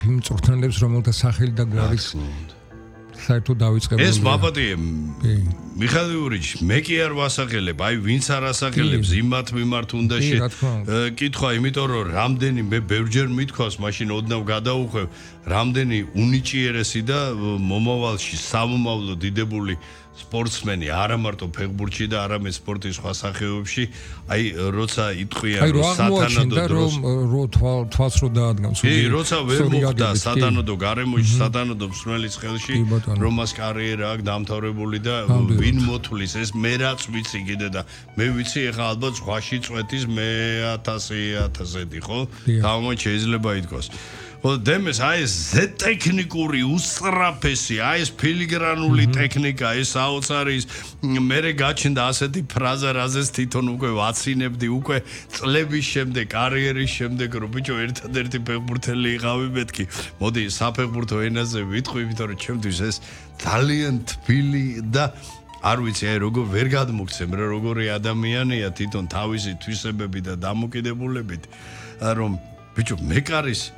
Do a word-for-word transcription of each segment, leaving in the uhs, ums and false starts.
იმ მწვრთნელებს, რომელთა სახელი და გვარის საერთოდ დავიწყებული. ეს მაბადია მიხაილ იურიჩი, მე კი არ ვასახელებ, აი ვინც არ ასახელებს იმათ მიმართ უნდა კითხვა, იმიტომ რომ რამდენი მე ბევრჯერ მithქვას, მაშინ ოდნავ გადაუხვევ, რამდენი უნიჭიერესი და მომავალში სამომავლო დიდებული სპორტსმენი არა მარტო ფეხბურთში და არამედ სპორტის სხვა სახეობებში, აი როცა იტყვიან რომ სათანადო დროს რო თვალს რო დაადგამს. კი, როცა ვერ მოხდა სათანადო გარემოში, სათანადო მსმენელის ხელში, რომ მას კარიერა აქვს დამთავრებული და ვინ მოთulis, ეს მე რაც ვიცი კიდე და მე ვიცი ეხლა ალბათ ზღვაში წვეთის მე ათასი ათასეთი, ხო? თავმოც შეიძლება ითქვას. ხო, დემეს აი ეს ზე ტექნიკური უსწრაფესი, აი ეს ფილიგრანული ტექნიკა, ეს საოცარი მერე გაჩნდა ასეთი ფრაზა, რაზეც თვითონ უკვე ვაცინებდი, უკვე წლების შემდეგ, კარიერის შემდეგ, რომ ბიჭო ერთადერთი ფეხბურთელი იყავი მეთქი. მოდი საფეხბურთო ენაზე ვიტყვი, იმიტომ რომ ჩემთვის ეს ძალიან თბილი და არ ვიცი, აი როგორ ვერ გადმოგცემ, რა როგორი ადამიანია თვითონ თავისი თვისებები და დამოკიდებულებით, რომ ბიჭო მეკარის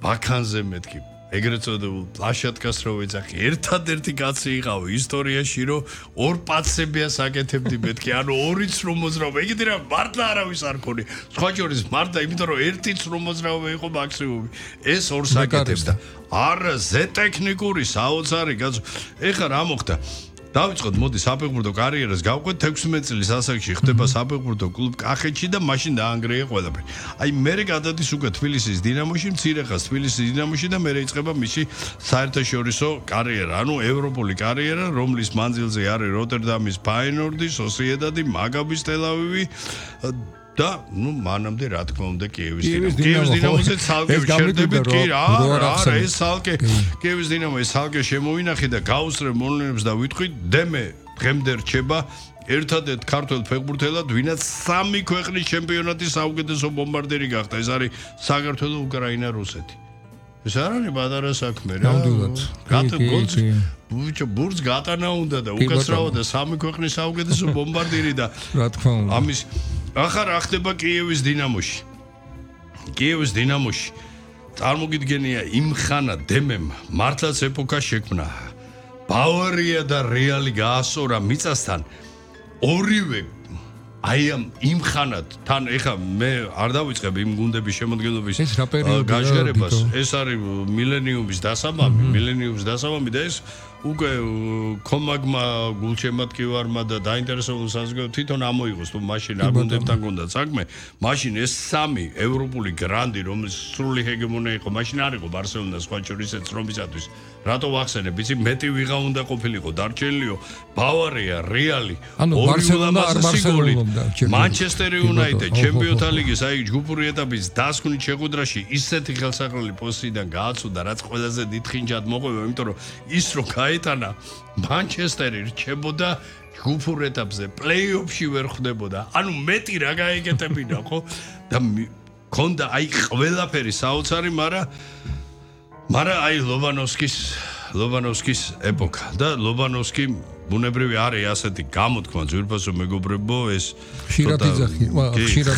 ბაქანზე მეთქი ეგრეთ წოდებულ პლაშატკას რო ვეძახი ერთადერთი კაცი იყავი ისტორიაში რომ ორ პაცებიას აკეთებდი მეთქი ანუ ორიც რომ მოძრავ ეგეთი რა მართლა არავის არ ქონი სხვა შორის მართლა იმიტომ რომ ერთიც რომ მოძრავ იყო მაქსიმუმი ეს ორს აკეთებს და არა ზე ტექნიკური საოცარი კაცო ეხლა რა მოხდა დავიწყოთ მოდი საფეხბურთო კარიერას გავყვეთ თექვსმეტ წლის ასაკში ხდება საფეხბურთო კლუბ კახეთში და მაშინ დაანგრია ყველაფერი. აი მერე გადადის უკვე თბილისის დინამოში, მცირე ხანს თბილისის დინამოში და მერე იწყება მისი საერთაშორისო კარიერა, ანუ ევროპული კარიერა, რომლის მანძილზე არის როტერდამის ფაიენორდი, სოსიედადი, მაგაბის ტელ-ავივი და ნუ მანამდე რა თქმა უნდა კიევის დინამო. კიევის დინამოზე ცალკე შერდებით კი რა, რა ეს ცალკე კიევის დინამო ეს ცალკე შემოვინახე და გავუსწრებ მონელებს და ვიტყვი დემე დღემდე რჩება ერთადერთ ქართველ ფეხბურთელად, ვინაც სამი ქვეყნის ჩემპიონატის საუკეთესო ბომბარდირი გახდა. ეს არის საქართველო, უკრაინა, რუსეთი. ეს არ არის პატარა საქმე რა. ნამდვილად. გატგოლს ბუჩო ბურს გატანა უნდა და უკაცრავა და სამი ქვეყნის საუკეთესო ბომბარდირი და რა თქმა უნდა. ამის ახლა რა ხდება კიევის დინამოში? კიევის დინამოში წარმოგიდგენია იმ ხანა დემემ მართლაც ეპოქა შექმნა. ბავარია და რეალი გაასწორა მიწასთან. ორივე აი ამ იმ ხანად თან ეხა მე არ დავიწყებ იმ გუნდების შემოქმედების გაჟღერებას. ეს არის მილენიუმის დასამამი, მილენიუმის დასამამი და ეს უკვე კომაგმა გულშემატკივარმა და დაინტერესებულ საზოგადოებამ თვითონ ამოიღოს თუ მაშინ არ გუნდებთან გონდა საქმე მაშინ ეს სამი ევროპული გრანდი რომლის სრული ჰეგემონია იყო მაშინ არ იყო ბარსელონა სხვა შორის ეს რომისათვის რატო ვახსენებ იცი მეტი ვიღა უნდა ყოფილიყო დარჩენილიო ბავარია რეალი ანუ ბარსელონა არ ბარსელონობდა მანჩესტერ იუნაიტედ ჩემპიონთა ლიგის აი ჯგუფური ეტაპის დასკვნით შეხვედრაში ისეთი ხელსაყრელი პოზიციიდან გააცუდა რაც ყველაზე დიდხინჯად მოყვება იმიტომ რომ ის რო გაეტანა მანჩესტერი რჩებოდა ჯგუფურ ეტაპზე პლეი-ოფში ვერ ხვდებოდა ანუ მეტი რა გაეკეთებინა ხო და ქონდა აი ყველაფერი საოცარი მაგრამ მაგრამ აი ლობანოვსკის ლობანოვსკის ეპოქა და ლობანოვსკი ბუნებრივი არის ასეთი გამოთქმა ძვირფასო მეგობრებო ეს ხშირად იძახი ხშირად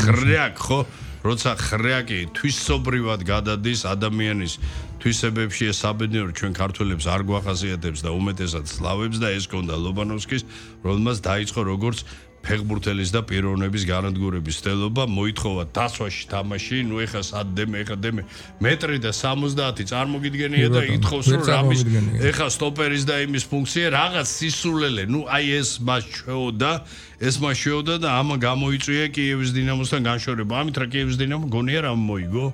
ხრიაკ ხო როცა ხრიაკი თვისობრივად გადადის ადამიანის თვისებებში ეს საბედნიერო ჩვენ ქართველებს არ გვახასიათებს და უმეტესად სლავებს და ეს კონდა ლობანოვსკის რომელმაც დაიწყო როგორც ფეხბურთელის და პიროვნების განადგურების სტელობა მოითხოვა დაცვაში თამაში ნუ ეხა სადემე ეხა დემე მეტრი და სამოცდაათი წარმოგიდგენია და ითხოვს რომ რამის ეხა სტოპერის და იმის ფუნქცია რაღაც სისულელე ნუ აი ეს მას შეოდა ეს მას შეოდა და ამა გამოიწვია კიევის დინამოსთან განშორება ამით რა კიევის დინამო გონია რა მოიგო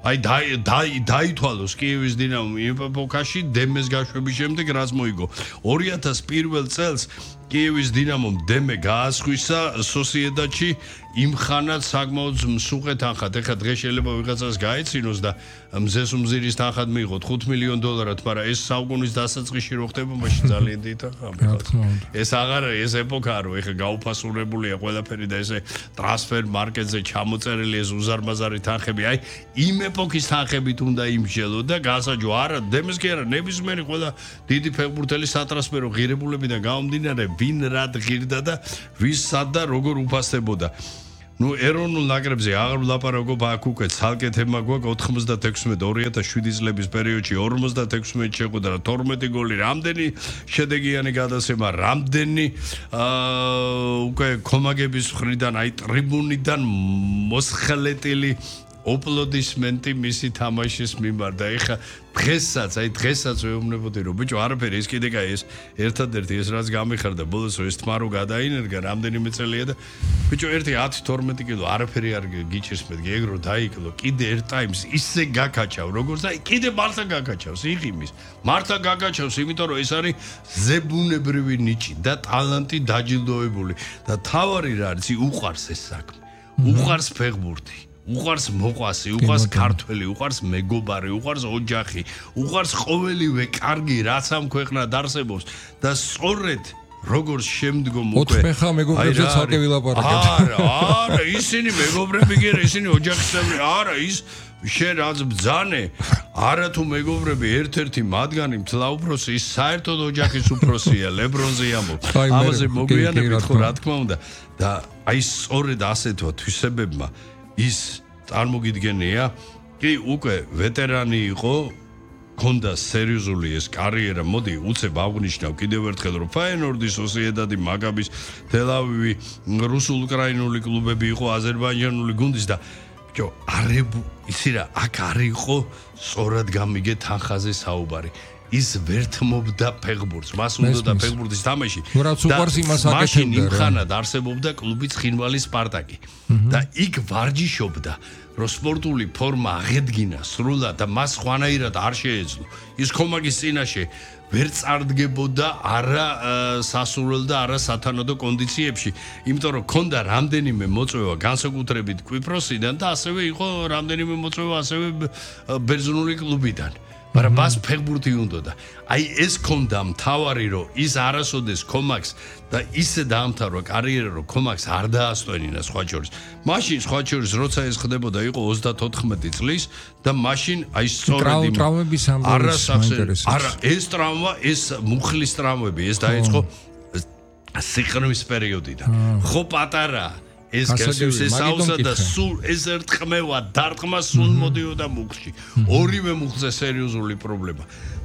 აი დაი დაითვალოს კიევის დინამო ეპოქაში დემეს გაშვების შემდეგ რაც მოიგო ორი ათას პირველ წელს კიევის დინამომ დემე გაასხვისა სოსიედადში იმ ხანად საკმაოდ მსუყე თანხად ეხლა დღეს შეიძლება ვიღაცას გაეცინოს და მზეს უმზირის თანხად მიიღოთ ხუთ მილიონ დოლარად მაგრამ ეს საუკუნის დასაწყისში რო ხდება მაშინ ძალიან დიდი თანხა ეს აღარ ეს ეპოქაა რომ ეხლა გაუფასურებულია ყველაფერი და ესე ტრანსფერ მარკეტზე ჩამოწერილი ეს უზარმაზარი თანხები აი იმ ეპოქის თანხებით უნდა იმსჯელო და გასაჯო არა დემეს კი არა ნებისმიერი ყველა დიდი ფეხბურთელი სატრანსფერო ღირებულებიდან გამომდინარე ვინ რად ღირდა და ვის სად და როგორ უფასდებოდა ნუ ეროვნულ ნაკრებზე აღარ ვლაპარაკობ აქ უკვე ცალკე თემა გვაქვს ოთხმოცდათექვსმეტ ორი ათას შვიდი წლების პერიოდში ორმოცდათექვსმეტ შეხვედრა და თორმეტი გოლი რამდენი შედეგიანი გადაცემა რამდენი უკვე კომაგების მხრიდან აი ტრიბუნიდან მოსხელეტილი ოპლოდისმენტი მისი თამაშის მიმართ და ეხა დღესაც აი დღესაც ვეუბნებოდი რომ ბიჭო არაფერი ეს კიდე კაი ეს ერთადერთი ეს რაც გამიხარდა ბოლოს ეს თმა რო გადაინერგა რამდენიმე წელია და ბიჭო ერთი ათი თორმეტი კილო არაფერი არ გიჭირს მე გეგრო დაიკლო კიდე ერთ ტაიმს ისე გაკაჩავ როგორც აი კიდე მართლა გაკაჩავს იღიმის მართლა გაკაჩავს იმიტომ რომ ეს არის ზებუნებრივი ნიჭი და ტალანტი დაჯილდოებული და თავარი რა არის უყარს ეს საქმე უყარს ფეხბურთი უყარს მოყვასი, უყარს ქართველი, უყარს მეგობარი, უყარს ოჯახი, უყარს ყოველივე კარგი, რაც ამ ქვეყნად არსებობს და სწორედ როგორც შემდგომ უკვე ოთხფეხა მეგობრებზე ცალკე ვილაპარაკებთ. არა, არა, ისინი მეგობრები კი არა, ისინი ოჯახის წევრები, არა, ის შენ რაც ბძანე, არა თუ მეგობრები ერთ-ერთი მათგანი მთლად უფროსი, ის საერთოდ ოჯახის უფროსია, ლებრონზე ამბობ. ამაზე მოგვიანებით ხო რა თქმა უნდა და აი სწორედ ასეთო თვისებებმა ის წარმოგიდგენია, კი უკვე ვეტერანი იყო, ქონდა სერიოზული ეს კარიერა, მოდი უცებ აღნიშნავ კიდევ ერთხელ რომ ფაენორდი, სოსიედადი, მაგაბის, თელ-ავივი, რუსულ-უკრაინული კლუბები იყო, აზერბაიჯანული გუნდის და ბიჭო, არებუ, იცი რა, აქ არ იყო სწორად გამიგე თანხაზე საუბარი. ის ვერთმობდა ფეხბურთს, მას უნდა და ფეხბურთის თამაში. მაშინ იმხანად არსებობდა კლუბი ცხინვალი სპარტაკი და იქ ვარჯიშობდა, რომ სპორტული ფორმა აღედგინა სრულად და მას ხვანაირად არ შეეძლო. ის კომაგის წინაშე ვერ წარდგებოდა არა სასურველ და არა სათანადო კონდიციებში, იმიტომ რომ ქონდა რამდენიმე მოწვევა განსაკუთრებით კვიპროსიდან და ასევე იყო რამდენიმე მოწვევა ასევე ბერძნული კლუბიდან. მაგრამ მას ფეხბურთი უნდა და აი ეს ქონდა მთავარი რომ ის არასოდეს კომაქს და ისე დაამთავრა კარიერა რომ კომაქს არ დაასტვენინა სხვა შორის. მაშინ სხვა შორის როცა ეს ხდებოდა იყო ოცდათოთხმეტი წლის და მაშინ აი სწორედ იმ ტრავმების ამბავს არა ეს ტრავმა ეს მუხლის ტრავმები ეს დაიწყო სიყრმის პერიოდიდან. ხო პატარა ეს გასვლის ესაუსა და სულ ეს ერთხმევა დარტყმა სულ მოდიოდა მუხლში. ორივე მუხლზე სერიოზული პრობლემა.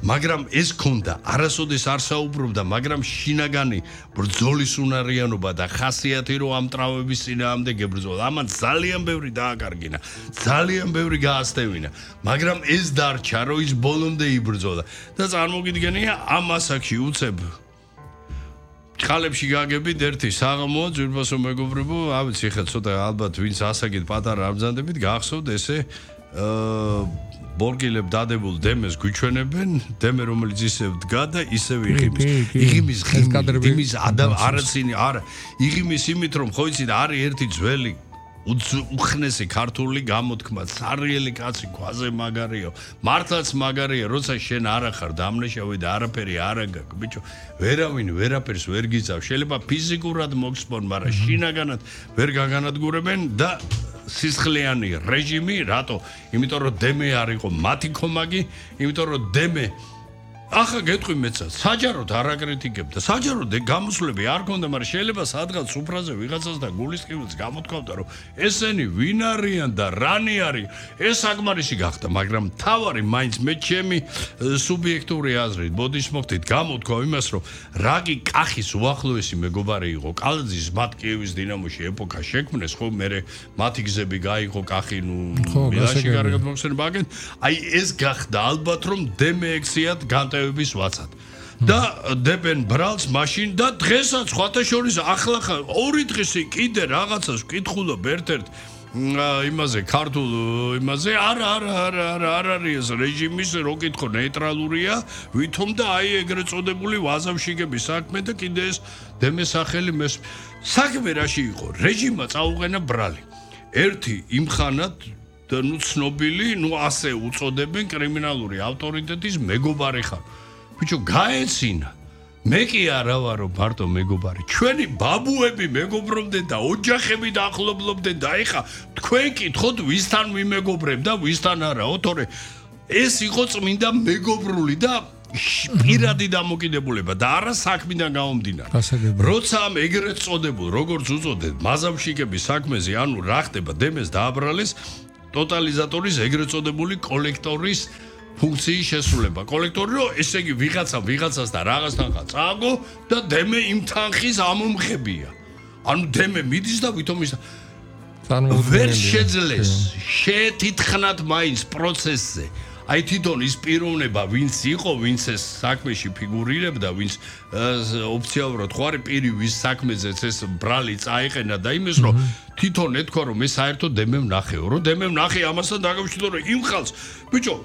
მაგრამ ეს ქონდა, არასოდეს არ საუბრობდა, მაგრამ შინაგანი ბრძოლის უნარიანობა და ხასიათი რომ ამ ტრავმების წინააღმდეგ ებრძოლა. ამან ძალიან ბევრი დააკარგინა, ძალიან ბევრი გაასტევინა. მაგრამ ეს დარჩა, რომ ის ბოლომდე იბრძოლა და წარმოგიდგენია ამ ასაკში უცებ ხალებში გაგებით ერთი საღამოა ძვირფასო მეგობრებო, ავიცი ხა ცოტა ალბათ ვინც ასაკით პატარა არ ბრძანდებით, გახსოვთ ესე აა ბორგილებ დადებულ დემეს გვიჩვენებენ, დემე რომელიც ისე დგა და ისევ იღიმის. იღიმის ღიმის ადამ არაცინი არა, იღიმის იმით რომ ხო იცით არის ერთი ძველი უხნესი ქართული გამოთქმა, სარიელი კაცი ქვაზე მაგარიო, მართლაც მაგარია, როცა შენ არ ახარ დამნაშავე და არაფერი არ აგაკ, ბიჭო, ვერავინ ვერაფერს ვერ გიწევ, შეიძლება ფიზიკურად მოგსპონ, მაგრამ შინაგანად ვერ გაგანადგურებენ და სისხლიანი რეჟიმი, რატო? იმიტომ რომ დემე არ იყო მათი კომაგი, იმიტომ რომ დემე ახლა გეტყვი მეცად, საჯაროდ არ აკრიტიკებდა. საჯაროდ გამოსვლები არ ქონდა, მაგრამ შეიძლება სადღაც სუფრაზე ვიღაცას და გულისყივილს გამოთქვამდა, რომ ესენი ვინ არიან და რანი არის. ეს საკმარისი გახდა, მაგრამ თავარი მაინც მე ჩემი სუბიექტური აზრით, ბოდიშ მოხდით, გამოთქვა იმას, რომ რაკი კახის უახლოესი მეგობარი იყო. კალაძის მათ კიევის დინამოში ეპოქა შექმნეს, ხო, მე მათი გზები გაიყო კახი, ნუ მილანში კარგად მოხსენება აგენ. აი ეს გახდა ალბათ რომ დემე ექციად განტა ვაცად და დებენ ბრალს მაშინ და დღესაც სხვათა შორის ახლა ორი დღესი კიდე რაღაცას ვკითხულობ ერთ-ერთ იმაზე ქართულ იმაზე არა არა არა არა არ არის ეს რეჟიმის რო კითხო ნეიტრალურია ვითომ და აი ეგრეთ წოდებული ვაზავშიგების საქმე და კიდე ეს დემესახელი მეს საქმე რაში იყო რეჟიმმა წაუყენა ბრალი ერთი იმხანად და ნუ ცნობილი, ნუ ასე უწოდებენ კრიმინალური ავტორიტეტის მეგობარი ხარ. ბიჭო, გაეცინა. მე კი არა ვარო მარტო მეგობარი. ჩვენი ბაბუები მეგობრობდნენ და ოჯახები დაახლოებდნენ და ეხა თქვენ კითხოთ ვისთან ვიმეგობრებ და ვისთან არაო, თორე ეს იყო წმინდა მეგობრული და პირადი დამოკიდებულება და არა საქმიდან გამომდინარე. როცა ამ ეგრეთ წოდებულ, როგორც უწოდეთ, მაზავშიკების საქმეზე, ანუ რა ხდება, დემეს დააბრალეს ტოტალიზატორის ეგრეთ წოდებული კოლექტორის ფუნქციის შესრულება. კოლექტორი რო ესე იგი ვიღაცა ვიღაცას და რაღაც თანხა წააგო და დემე იმ თანხის ამომღებია. ანუ დემე მიდის და ვითომ ის ვერ შეძლეს შეთითხნათ მაინც პროცესზე. აი თვითონ ის პიროვნება ვინც იყო, ვინც ეს საქმეში ფიგურირებდა, ვინც ოფიციალურად ხო არის პირი ვის საქმეზეც ეს ბრალი წაიყენა და იმის რომ თვითონ ეთქვა რომ მე საერთოდ დემემ ნახეო, რომ დემემ ნახე ამასთან დაკავშირებით რომ იმ ხალხს ბიჭო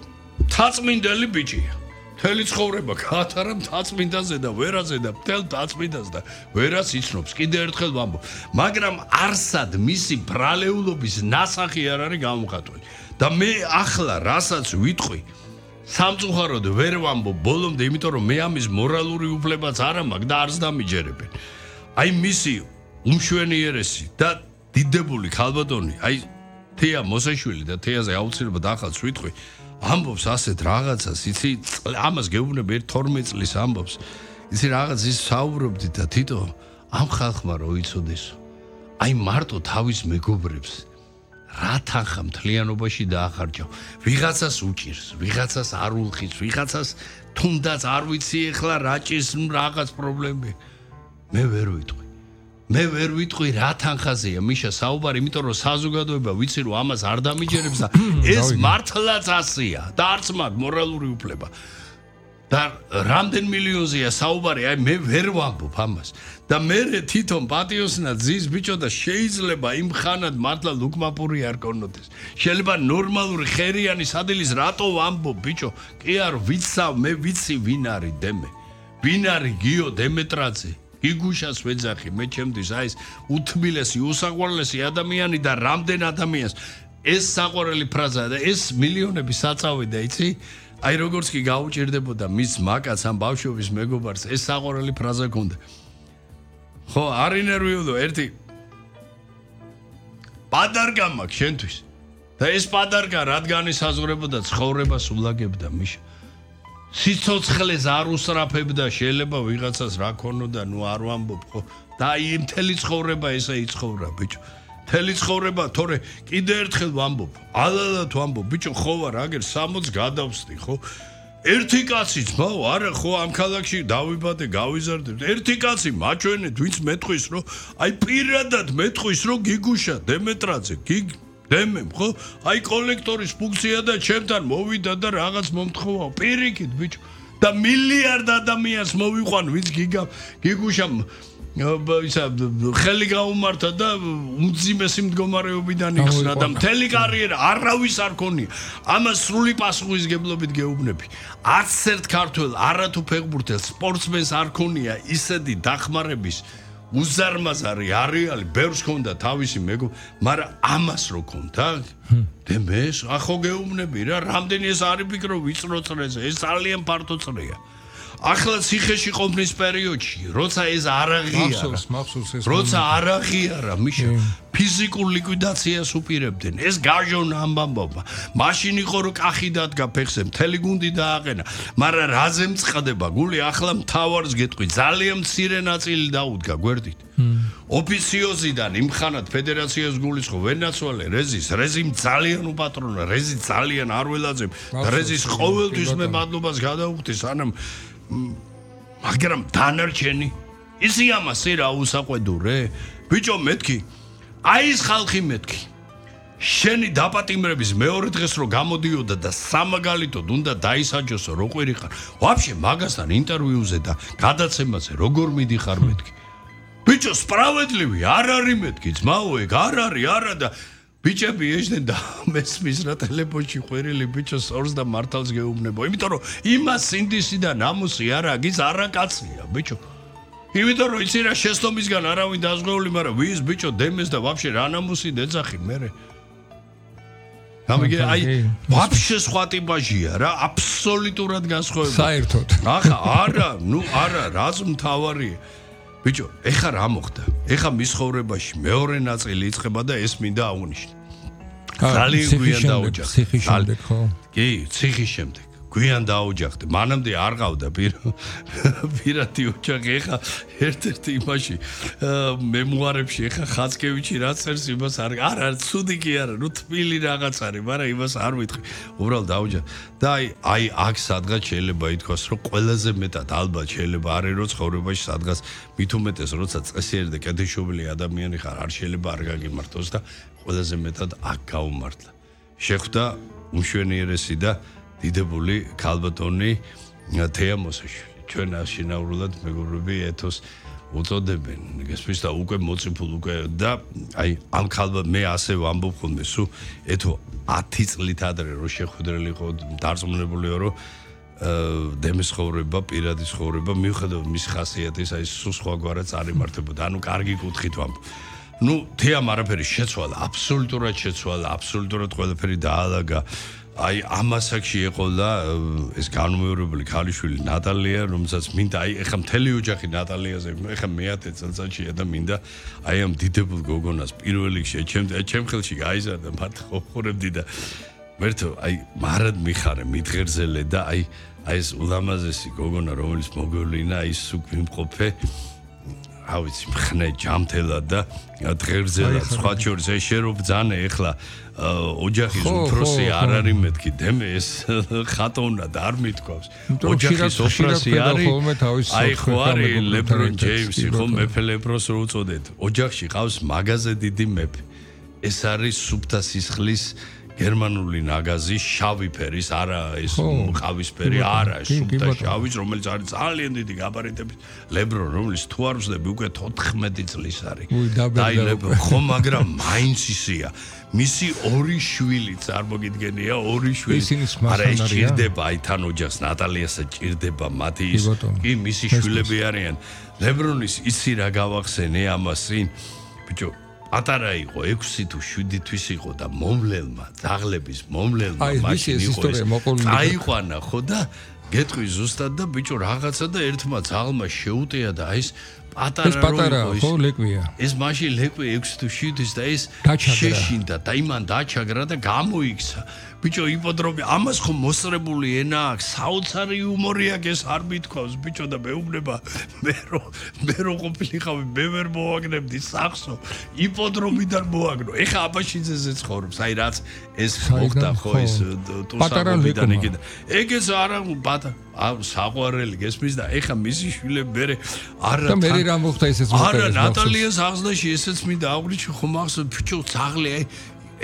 თაწმინდელი ბიჭია. მთელი ცხოვრება გაატარა მთაწმინდაზე და ვერაზე და მთელ თაწმინდას და ვერას იცნობს. კიდე ერთხელ ვამბობ, მაგრამ არსად მისი ბრალეულობის ნასახი არ არის გამომხატველი. და მე ახლა რასაც ვიტყვი, სამწუხაროდ ვერ ვამბობ ბოლომდე, იმიტომ რომ მე ამის მორალური უფლებაც არ მაქვს და არც დამიჯერებენ. აი მისი უმშვენიერესი და დიდებული ქალბატონი, აი თეა მოსაშვილი და თეაზე აუცილებლად ახალს ვიტყვი, ამბობს ასეთ რაღაცას, იცი, ამას გეუბნები ერთ თორმეტ წლის ამბობს. იცი რაღაც ის საუბრობდი და თითო ამ ხალხმა რო იცოდეს, აი მარტო თავის მეგობრებს რა თანხა მთლიანობაში დაახარჯავ. ვიღაცას უჭირს, ვიღაცას არ ულხის, ვიღაცას თუნდაც არ ვიცი ეხლა რა ჭირს რაღაც პრობლემები. მე ვერ ვიტყვი. მე ვერ ვიტყვი რა თანხაზეა მიშა საუბარი, იმიტომ რომ საზოგადოება ვიცი რომ ამას არ დამიჯერებს და ეს მართლაც ასეა და არც მაქვს მორალური უფლება. და რამდენ მილიონზეა საუბარი, აი მე ვერ ვამბობ ამას. და მე თვითონ პატიოსნად ზის ბიჭო და შეიძლება იმ ხანად მართლა ლუკმაპური არ კონოდეს. შეიძლება ნორმალური ხერიანი სადილის რატო ვამბობ ბიჭო? კი არ ვიცავ, მე ვიცი ვინ არის დემე. ვინ არის გიო დემეტრაძე? იგუშას ვეძახი, მე ჩემთვის აი ეს უთმილესი, უსაყვარლესი ადამიანი და რამდენ ადამიანს ეს საყვარელი ფრაზაა და ეს მილიონები საწავედა, იცი? აი როგორც კი გაუჭირდებოდა მის მაკაც ამ ბავშვობის მეგობარს ეს საყვარელი ფრაზა ქონდა. ხო, არ ინერვიულო ერთი პადარკა მაქვს შენთვის. და ეს პადარკა რადგან ისაზღვრებოდა ცხოვრებას ულაგებდა მიშა. სიცოცხლეს არ უსწრაფებდა, შეიძლება ვიღაცას რა ქონოდა, ნუ არ ვამბობ ხო. და აი მთელი ცხოვრება ესე იცხოვრა ბიჭო. მთელი ცხოვრება, თორე კიდე ერთხელ ვამბობ, ალალად ვამბობ, ბიჭო ხო ვარ აგერ სამოცს გადავსდი ხო. ერთი კაცი ძმაო, არა ხო ამ ქალაქში დავიბადე, გავიზარდებ. ერთი კაცი მაჩვენეთ, ვინც მეტყვის რომ აი პირადად მეტყვის რომ გიგუშა დემეტრაძე, გიგ დემემ ხო? აი კოლექტორის ფუნქცია და ჩემთან მოვიდა და რაღაც მომთხოვა. პირიქით ბიჭო. და მილიარდ ადამიანს მოვიყვან, ვინც გიგა გიგუშამ ისა ხელი გაუმართა და უმძიმესი მდგომარეობიდან იხსნა და მთელი კარიერა არავის არ ქონია. ამას სრული პასუხისგებლობით გეუბნები. არც ერთ ქართველ არათუ ფეხბურთელს სპორტსმენს არ ქონია ისეთი დახმარების უზარმაზარი არეალი, ბევრს ქონდა თავისი მეგო, მაგრამ ამას რო ქონდა, დემეს ახო გეუბნები რა, რამდენი ეს არის ფიქრო ვიწრო წრეზე, ეს ძალიან ფართო წრეა. ახლა ციხეში ყოფნის პერიოდში, როცა ეს არ აღიარა, როცა არ აღიარა, მიშა ფიზიკურ ლიკვიდაციას უპირებდნენ. ეს გაჟონა ამბამბობა. მაშინ იყო რომ კახი დადგა ფეხზე, მთელი გუნდი დააყენა. მაგრამ რაზე მწყდება გული, ახლა მთავარს გეტყვი, ძალიან მცირე ნაწილი დაუდგა გვერდით. ოფიციოზიდან იმხანად ფედერაციას გულისხმობ ვენაცვალე რეზის, რეზიმ ძალიან უპატრონა, რეზი ძალიან არ ველაძებ და რეზის ყოველთვის მე მადლობას გადავუხდი სანამ მაგრამ დანარჩენი ისი ამასე რა უსაყვედურე ბიჭო მეთქი აი ეს ხალხი მეთქი შენი დაპატიმრების მეორე დღეს რო გამოდიოდა და სამაგალითოდ უნდა დაისაჯოსო რო ყვირიხარ ვაფშე მაგასთან ინტერვიუზე და გადაცემაზე როგორ მიდიხარ მეთქი ბიჭო სპრავედლივი არ არის მეთქი ძმაო ეგ არ არის არა და ბიჭები ეშდნენ და მესმის რა ტელეფონში ყვირილი ბიჭოს ორს და მართალს გეუბნებო იმიტომ რომ იმას სინდისი და ნამუსი არა გიც არა კაცია ბიჭო იმიტომ რომ იცი რა შეცდომისგან არავინ დაზღვეული მაგრამ ვის ბიჭო დემეს და ვაფშე რა ნამუსი დეძახი მერე გამიგე აი ვაფშე სხვა ტიპაჟია რა აბსოლუტურად განსხვავებული საერთოდ ახლა არა ნუ არა რაც მთავარია ბიჭო, ეხა რა მოხდა? ეხა მის ხოვრებაში მეორე ნაწილი იწყება და ეს მინდა აღვნიშნო. ძალიან გვიან დაუჯახა. ციხის შემდეგ ხო? კი, ციხის შემდეგ. გვიან დაოჯახდი. მანამდე არ ყავდა პირადი ოჯახი. ეხა ერთ-ერთი იმაში მემუარებში ეხა ხაცკევიჩი რა წერს იმას არ არა ცუდი კი არა, ნუ თბილი რაღაც არის, მაგრამ იმას არ ვიტყვი. უბრალოდ დაოჯახდი. და აი აი აქ სადღაც შეიძლება ითქვას, რომ ყველაზე მეტად ალბათ შეიძლება არის რომ ცხოვრებაში სადღაც მით უმეტეს როცა წესიერი და კეთილშობილი ადამიანი ხარ, არ შეიძლება არ გაგიმართოს და ყველაზე მეტად აქ გაუმართლა. შეხვდა უმშვენიერესი და დიდებული ქალბატონი თეა მოსაშვილი. ჩვენ აშინაურულად მეგობრები ეთოს უწოდებენ. გესმის და უკვე მოციფულ უკვე და აი ამ ქალბა მე ასე ვამბობ ხოლმე სულ ეთო ათი წლით ადრე რო შეხვედრილი იყო დარწმუნებულიო რომ დემის ხოვრება, პირადი ხოვრება მიუხედავად მის ხასიათის აი სულ სხვაგვარად წარიმართებოდა. ანუ კარგი კუთხით ვამბობ. ნუ თეამ არაფერი შეცვალა, აბსოლუტურად შეცვალა, აბსოლუტურად ყველაფერი დაალაგა. აი ამასაკში ეყოლა ეს განმეორებული ქალიშვილი ნატალია, რომელსაც მინდა აი ეხა მთელი ოჯახი ნატალიაზე, ეხა მეათე წელიწადშია და მინდა აი ამ დიდებულ გოგონას პირველ რიგში ჩემ ჩემ ხელში გაიზარდა, მათ ხოხურებდი და მერთო აი მარად მიხარე, მითხერძელე და აი აი ეს ულამაზესი გოგონა, რომელიც მოგევლინა, ის უგვიმყოფე რა ვიცი, მხნე ჯამთელად და დღერძელად, სხვა შორის ეს შე რო ბძანე ეხლა ოჯახის უფროსი არ არის მეთქი დემე ეს ხატოვნად არ მithქვავს. ოჯახის უფროსი არის აი ხო არის ლებრონ ჯეიმსი, ხო მეფე ლებროს რო უწოდეთ. ოჯახში ყავს მაღაზე დიდი მეფე. ეს არის სუფთა სისხლის გერმანული ნაგაზი შავი ფერის, არა ეს ყავისფერი, არა სუფთა შავის, რომელიც არის ძალიან დიდი გაბარიტების ლებრონ, რომელიც თუ არ ვსდები უკვე თოთხმეტი წლის არის. დაი ლებრონ, ხო, მაგრამ მაინც ისია. მისი ორი შვილი წარმოგიდგენია, ორი შვილი. არა ეს ჭირდება აი თან ოჯახს, ნატალიასა ჭირდება მათი ის კი მისი შვილები არიან. ლებრონის ისი რა გავახსენე ამას წინ. ბიჭო პატარა იყო ექვსი თუ შვიდი თვის იყო და მომლელმა ძაღლების მომლელმა მაშინ იყო ეს აიყვანა ხო და გეტყვი ზუსტად და ბიჭო რაღაცა და ერთმა ძაღლმა შეუტია და აი ეს პატარა რო იყო ლეკვია ეს მაშინ ლეკვი ექვსი თუ შვიდის და ეს შეშინდა და იმან დაჩაგრა და გამოიქცა ბიჭო იპოდრომი ამას ხო მოსწრებული ენა აქვს საოცარი იუმორი აქვს ეს არ მithქვავს ბიჭო და მეუბნება მე რო მე რო ყოფილიყავი მე ვერ მოვაგნებდი სახსო იპოდრომიდან მოვაგნო ეხა აბაშიძეზე ცხოვრობს აი რაც ეს მოხდა ხო ეს ტუსაღობიდან იქიდან ეგეც არა პატარა აუ საყვარელი გესმის და ეხა მისი შვილები მერე არა და მერე რა მოხდა ესეც მოხდა არა ნატალიას აღზრდაში ესეც მინდა აღვიჩი ხომ ახსოვს ბიჭო ძაღლი აი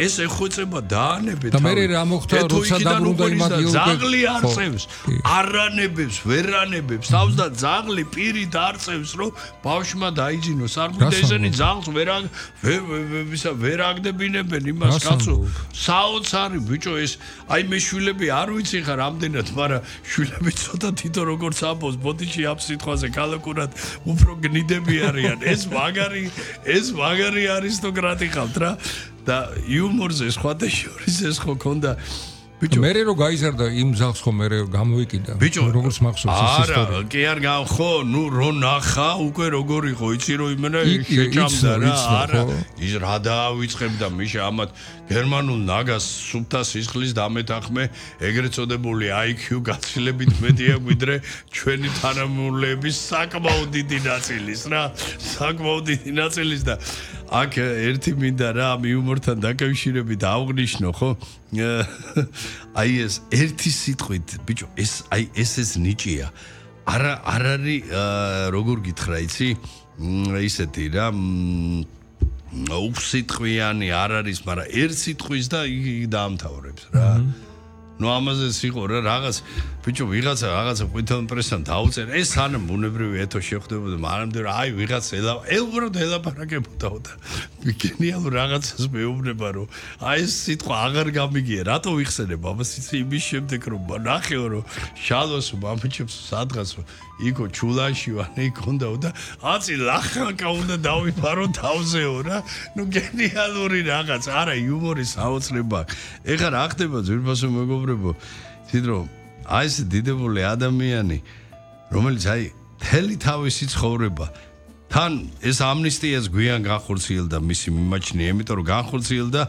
ეს ეხოცება დაანებეთ და მერე რა მოხდა როცა დაბრუნდა იმადი ძაღლი არწევს არანებებს ვერანებებს თავს და ძაღლი პირით არწევს რომ ბავშვმა დაიძინოს არ მინდა ესენი ძაღლს ვერა ვისა ვერ აგდებინებენ იმას კაცო საოცარი ბიჭო ეს აი მე შვილები არ ვიცი ხა რამდენად მაგრამ შვილები ცოტა თითო როგორც ამბობს ბოდიში ამ სიტყვაზე კალაკურად უფრო გნიდები არიან ეს მაგარი ეს მაგარი არისტოკრატი ხავთ რა და იუმორზე სხვათა შორის ეს ხო ქონდა ბიჭო მერე რო გაიზარდა იმ ზაღს ხო მერე გამოვიკიდა როგორც მახსოვს ეს ისტორია არა კი არ გა ხო ნუ რო ნახა უკვე როგორ იყო იცი რო იმენა შეჭამდა რა არა ის რა დაავიწყებდა მიშა ამათ გერმანულ ნაგას სუფთა სისხლის დამეთახმე ეგრეთ წოდებული აი ქიუ გაცილებით მეტია ვიდრე ჩვენი თანამშრომლების საკმაოდ დიდი ნაწილის რა საკმაოდ დიდი ნაწილის და აქ ერთი მინდა რა ამ იუმორთან დაკავშირებით აღვნიშნო ხო აი ეს ერთი სიტყვით ბიჭო ეს აი ეს ეს ნიჭია არა არ არის როგორ გითხრა იცი ისეთი რა უსიტყვიანი არ არის მაგრამ ერთ სიტყვის და დაამთავრებს რა ნუ ამაზე სიყო რა რაღაც ბიჭო ვიღაცა რაღაცა ყვითელ პრესთან დაუწერა ეს სანამ ბუნებრივი ეთო შეხვდებოდა მანამდე რა აი ვიღაც ელა უბრალოდ ელაპარაკებოდაო და გენიალურ რაღაცას მეუბნება რომ აი ეს სიტყვა აღარ გამიგია რატო ვიხსენებ ამას იცი იმის შემდეგ რომ ნახეო რომ შალოს მამჩებს სადღაცო იქო ჩულანში ვანე იქონდაო და აცი ლახაკა უნდა დავიფარო თავზეო რა ნუ გენიალური რაღაც არა იუმორი საოცრება ეხლა რა ხდება ძვირფასო მეგობრებო თვითონ აი ეს დიდებული ადამიანი რომელიც აი თელი თავისი ცხოვრება თან ეს ამნისტიას გვიან განხორციელდა მისი მიმაჩნია იმიტომ რომ განხორციელდა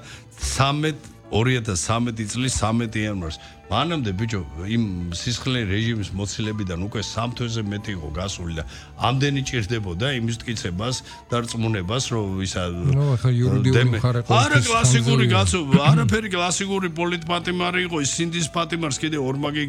ცამეტ ორი ათას ცხრამეტი წლის ცხრამეტი იანვარს მანამდე ბიჭო იმ სისხლიანი რეჟიმის მოცილებიდან უკვე სამ თვეზე მეტი იყო გასული და ამდენი ჭირდებოდა იმის მტკიცებას და რწმუნებას რომ ისა ნუ ახლა იურიდიული მხარე ყო არა კლასიკური კაცო არაფერი კლასიკური პოლიტპატიმარი იყო ის სინდის პატიმარს კიდე ორმაგი